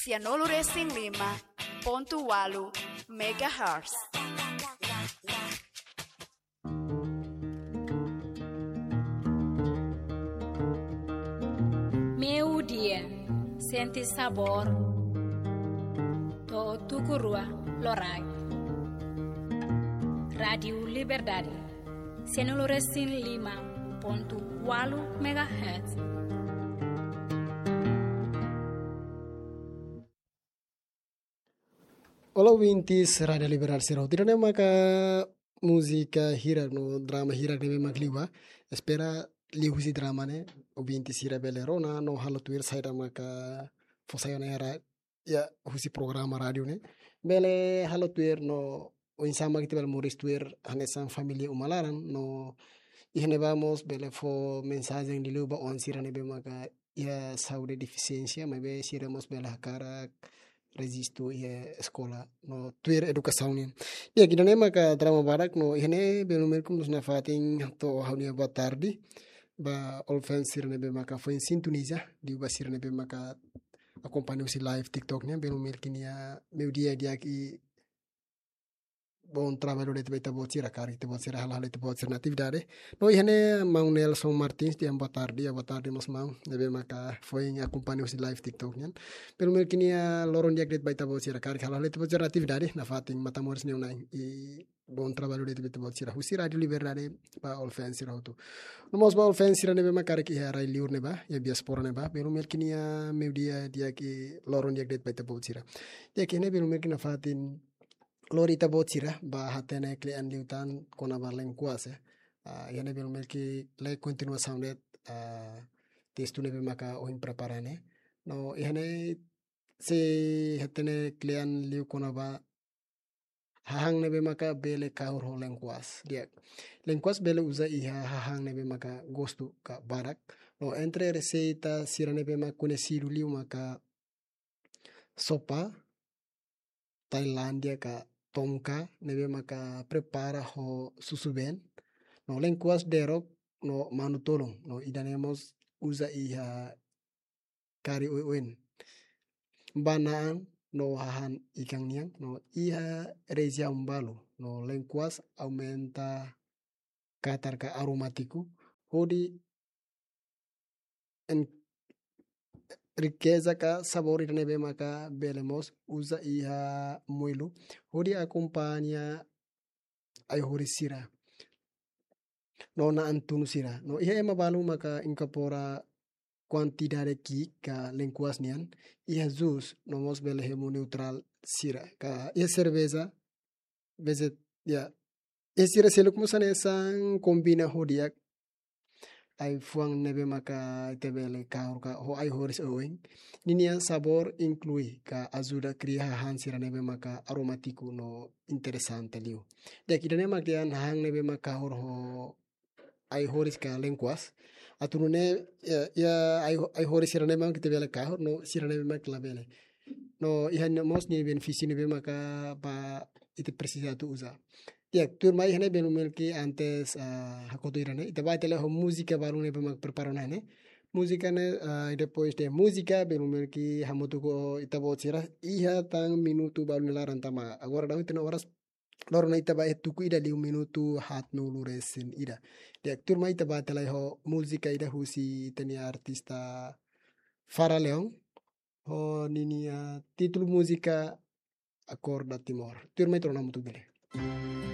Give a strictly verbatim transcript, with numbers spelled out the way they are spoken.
Sianulu resin lima pontu walu megahertz. Meio-dia, sente sabor. To'o tuku rua loraik. Rádiu Liberdade, sianulu resin lima pontu walu megahertz. Olá, ouvintes Rádiu Liberdade sira hotu. Ida-ne'e maka múzika hirak no drama hirak ne'ebé mak liu ba. Espera liuhusi drama ne'e, ouvintes sira bele rona no halo tuir saida maka fó sai ona iha ra-, iha husi programa rádiu ne'e. Bele halo tuir no oinsá mak ita bele moris tuir hanesan família uma laran no iha ne'ebá mós bele fó mensajen liuliu ba oan sira ne'ebé maka iha saúde defisiénsia, maibé sira mós bele hakarak rejistu iha eskola no tuir edukasaun nian. Di'ak, ida-ne'e maka drama badak no iha ne'e belun merkum nos nafatin hato'o ha'u-nia boa tarde ba all fans sira ne'ebé maka foin sintoniza, liu ba sira ne'ebé maka akompaña husi live TikTok nian, belun merkum nia meio-dia di'ak i bom trabalho de'it ba ita-boot sira, karik ita-boot sira halo halo ita-boot sira-nia atividade. No iha ne'e maun Nelson Martins, di'ak, boa tarde, ya, boa tarde mós maun, ne'ebé maka foin akompaña husi live TikTok nian. Belun merkum nia loron di'ak de'it ba ita-boot sira, karik halo halo ita-boot sira-nia atividade, nafatin matan-moris ne'e ona i bom trabalho de'it ba ita-boot sira. Husi Rádiu Liberdade ba all fans sira hotu. No mós ba all fans sira ne'ebé maka karik iha rai-liur ne'ebá, iha diáspora ne'ebá, belun merkum nia meio-dia di'ak i loron di'ak de'it ba ita-boot sira. Di'ak, iha ne'e belun merkum nafatin lori ita-boot sira ba hatene kle'an liután kona-ba lenkuas, eh. Ah, iha ne'e belun merkum lee kontinuasaun de'it, ah, testu ne'ebé maka ohin prepara ne'e. No iha ne'e sei hatene kle'an liu kona-ba hahán ne'ebé maka bele kahur ho lenkuas. Di'ak, lenkuas bele uza iha hahán ne'ebé maka gostu ka barak. No entre reseita sira ne'ebé maka koñesidu liu maka sopa Tailándia ka tomka ne'ebé maka prepara ho susubeen. No lenkuas derok no manu-tolun. No ida-ne'e mós uza iha kari oioin. Ba na'an no hahán ikan nian no iha rejiaun balu. No lenkuas aumenta katar ka aromátiku hodi en-, riqueza ka sabór ida ne'ebé maka bele mós uza iha moilu hodi akompaña ai-horis sira no na'an tunu sira. No iha ema balu maka inkorpora kuantidade ki'ik ka lenkuas nian iha jus, no mós bele hemu neutrál sira. Ka iha serveja, vezes, ya, iha sira seluk mós hanesan kombina ho di'ak ai-fuan ne'ebé maka ita bele kahur ka ho ai-horis oioin. Ninia sabór inklui ka ajuda kria hahán sira ne'ebé maka aromátiku no interesante liu. Di'ak, ida-ne'e mak dehan hahán ne'ebé maka kahur ho ai-horis ka lenkuas. Atu nune'e, ya, ya, ai, ai-horis sira ne'ebé mak ita bele kahur no sira ne'ebé mak labele. No iha ne'e mós nia benefísiu ne'ebé maka ba ita presiza atu uza. Ya, tuirmai iha ne'e belun merkum antes, ah, hakotu ida-ne'e, ita bá tele ho múzika balu ne'ebé mak prepara ona ne'e. Múzika ne'e, ah, i depois de múzika, belun merkum hamutuk ho ita-boot sira, iha tan minutu balu nia laran tanba agora daudaun ita-nia oras loron ne'e ita bá iha tuku ida liu minutu haatnulu resin ida. Di'ak, tuirmai ita bá tele ho múzika ida husi ita-nia artista Fara Leão, ho ninia títulu múzika Acorda Timor. Tuirmai ita rona hamutuk bele.